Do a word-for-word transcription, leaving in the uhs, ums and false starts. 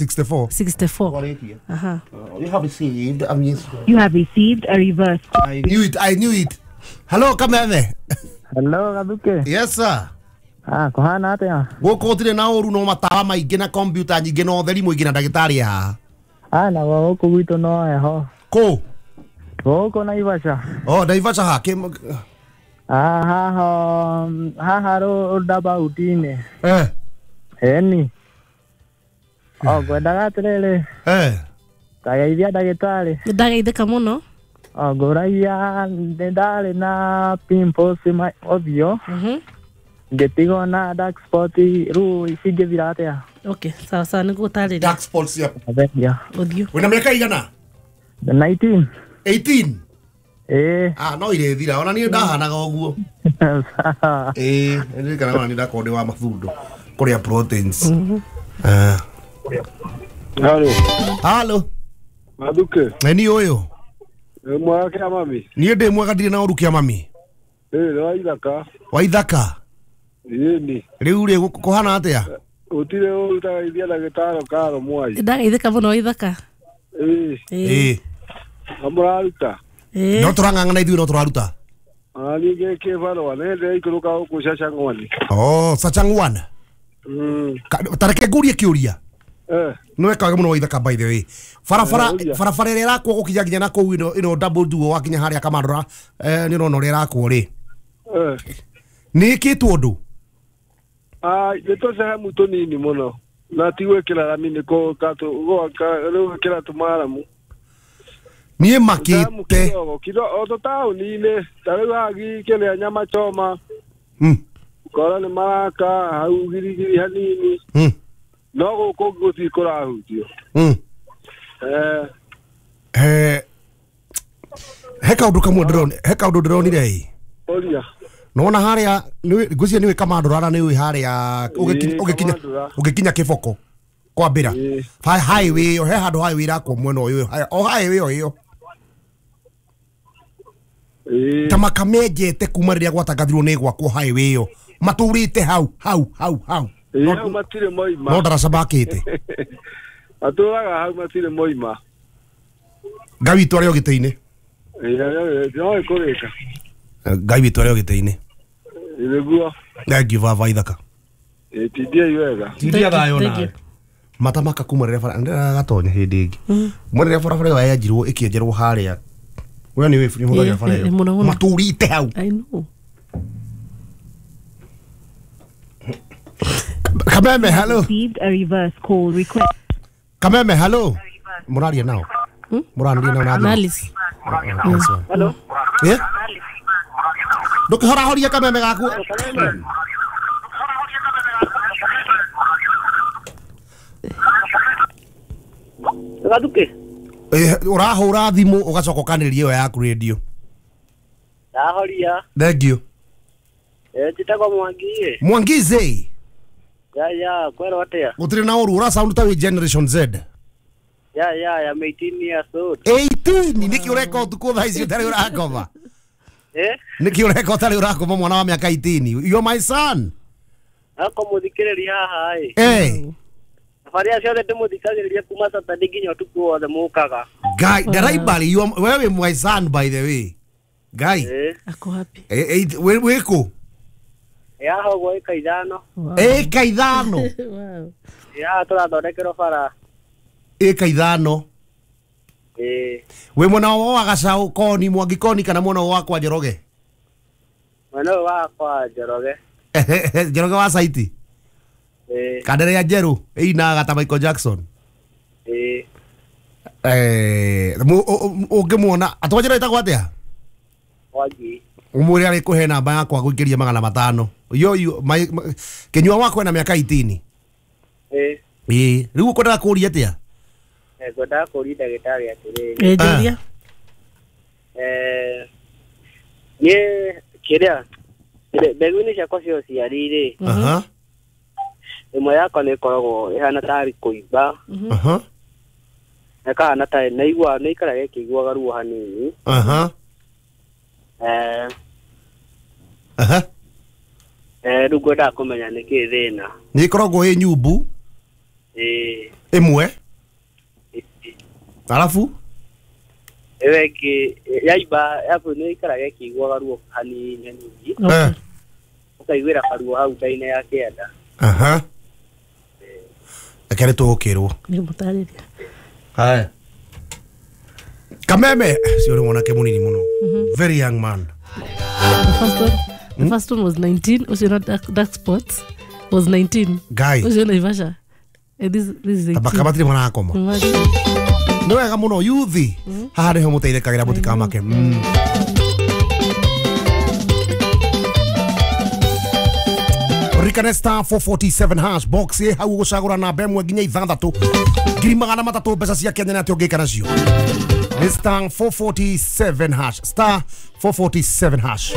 sixty-four. sixty-four. Aha. You have received a miss. You have received a reverse. I knew it. I knew it. Hello, Kameme. Hello, Gaduke. Yes, sir. Ah, kuhana atia? Gũkũ gũtirĩ na ũru no matawa maingĩ na kompiuta nyingĩ na ũtheri mũingĩ na ndagĩtarĩ haha. Ah, na gũkũ gwitũ no heho. Kũ? Gũkũ Naivasha. Oh, Naivasha ha? Kĩ... Ah, haha, haha roundabout-inĩ. Eh. Eni. Oh, ngwendaga atĩrĩrĩ. Eh. Ndageithia ndagĩtarĩ. Ndageithĩka mũno. Oh, ngũragia nĩ ndarĩ na pimples ũthiũ. Mhm. Ngĩtigwo na dark spot rĩu cingĩthira atĩa? Okay, sawa sawa nĩngũgũtarĩria. Dark spots ya ũthiũ. Wĩna mĩaka igana? nineteen. eighteen? Eh. Ah, no irĩthira ona niĩ ndahanaga ũguo. Eh, ndirikanaga ona niĩ ndakorwo ndĩ wa mathundo kũrĩa proteins. Ah. Halo. Halo. Maduke. Nĩ ũyũ. Mwega kĩa mami. Niĩ ndĩ mwega ndirĩ na ũru kĩa mami. Eh, nĩ wa ithaka. Wa ithaka. Ĩni. Rĩu rĩ kũhana atĩa? Gũtirĩ ũru ũtagaithia ndagĩtarĩ Karo Mwai. Ndageithĩka mũno ithaka. Ĩĩ. Ĩĩ. Na mũraruta? Ĩĩ. No tũrang'ang'ana ithuĩ no tũraruta. Ona niĩ ngĩkĩbarũa nĩ ndĩraikũrũka gũkũ Sachang'wani. Oh, Sachang'wan. Mm. Ta reke ngũrie kĩũria. Eh. Nĩ weka wega mũno wa ithaka by the way. Barabara barabara ĩrĩa ĩrakwo gũkinya nginya na kũu ĩno ĩno double duo wakinya harĩa Kamandũra eh nĩ ũrona ũrĩa ĩrakwo rĩ. Eh. Nĩ ĩkĩtwo ũndũ? Ah, nĩ tũcehemu tũnini mũno na ti gwĩkĩra rami nĩ gwĩkĩra tũmaramu. Niĩ makĩte o tũtaũni-inĩ ta rĩu haha kĩrĩa nyama choma ũkora nĩ maraka hau girigiri hanini no gũkũ gũtirĩ kũrahutio. Eh. Eh, he kaũndũ kamwe ndĩronire he kaũndũ ndĩronire ĩ. Ũria. Nona harĩa ngwĩciria nĩũĩ Kamandũra na nĩũĩ harĩa ũgĩkinya ũgĩkinya Kĩboko kwambĩra highway ĩyo he handũ highway ĩrakwo mwena ũyũ o highway ĩyo ĩyo ta makamenjete kuma rĩrĩa gwatangathirwo nĩ gwakwo highway ĩyo matũrĩte hau hau hau hau hau matirĩ moima no ndaraca makĩte matũraga hau matirĩ moima. Ngai witũ arĩ o gĩtĩ-inĩ. No ĩkũrĩka. Ngai witũ arĩ o gĩtĩ-inĩ. Nĩguo. Thank you baba ithaka. Tindiai wega. Tindia thayũ nawe. Matamaka kuma rĩrĩa bara ndĩragatonya hĩndĩ ĩngĩ. Mwena rĩrĩa barabara ĩyo yanjirwo ĩkĩenjerwo harĩa. We nĩ wĩ hũthagĩra bara ĩyo. Matũrĩte hau. I know. Kameme, hello. Received a reverse call request. Kameme, hello. Mũraria nao. Mũraria nao na Alice. Hello. Eh? Ndũkĩhorahorie kameme gaku. Gaduke. Eh, ũrahũra thimũ ũgacoka ũkanĩrĩria ĩyo yaku radio. Ndahoria. Thank you. Eh, njĩtagwo Mwangi. Mwangize. Ya ya, kwero atĩa? Gũtirĩ na ũru, ũra sound ta wĩ Generation Z. Ya ya, ya eighteen years old. eighteen nĩkĩ ũreka ũtukũ thaa ici ũtarĩ ũrakoma? Eh? Nĩkĩ ũreka ũtarĩ ũrakoma mwana wa mĩaka eighteen? You're my son. Ako mũthikĩrĩria haha ĩ. Eh. Thabarĩ ciothe ndĩmũthikagĩrĩria kuma Saturday nginya ũtukũ wothe mũkaga. Guy, ndaraibari you are wewe my son by the way. Guy. Eh. Ako happy. Eh, eh, wĩ kũ? Ya hogwo ĩka ithano. Ĩka ithano. Wow. Ya tũrathondekerwo bara. Ĩka ithano. Eh. Wĩ mwena wa Gacaũ Koni Mwangi Koni kana mwena wa kwa Njoroge? Mwena wa kwa Njoroge. Njoroge wa Saiti. Eh. Kandere ya Njerũ ĩinaga ta Michael Jackson. Eh. Eh, ũngĩmuona atwanjĩra ĩtagwo atĩa? Mwangi. Ũmwĩre arĩ kũhe namba yakwa gũikĩria magana matano. Yo yo kĩnyua wakwa na mĩaka eighteen. Eh. Ĩĩ, rĩu ũkwendaga kũũria atĩa? Eh, ngwendaga kũũria ndagĩtarĩ atĩrĩrĩ. Eh, njũria. Eh, niĩ kĩrĩa mbegũ-inĩ ciakwa cia ũciari rĩ. Aha. Ĩmwe yakwa nĩ ĩkoragwo ĩhana tarĩ kũimba. Aha. Ĩkahana tarĩ naigua nĩ ĩikaraga ĩkĩiguaga ruo hanini. Aha. Eh. Aha. Eh, rĩu ngwendaga kũmenya nĩkĩĩ thĩna. Nĩ ĩkoragwo ĩ nyumbu. Ĩĩ. Ĩmwe. Alafu Ĩyo ĩngĩ yaimba yabu nĩ ĩikaraga ĩkĩiguaga ruo hanini hanini. Okay. Ũkaiguĩra karuo hau nda-inĩ ya kĩanda. Aha. Reke nĩ tũgũkĩrwo. Nĩngũmũtarĩria. Haya. Kameme cio nĩ mwanake mũnini mũno. Very young man. The first one, the first one was nineteen. Ũcio na dark, dark spots was nineteen. Guy. Ũcio Naivasha. Eh, this this is eighteen. Tabaka matirĩ marakoma. Imagine. Nĩ wega mũno yuthi. Haha nĩho mũteithĩkagĩra mũtikamake. Mm. Ririkane star four forty-seven hash box ĩ hau ũgũcagũra namba ĩmwe nginya ithathatũ ngiri magana matatũ mbeca cia Kenya nĩ atĩ ũngĩka nacio. Nĩ star four forty-seven hash, star four forty-seven hash.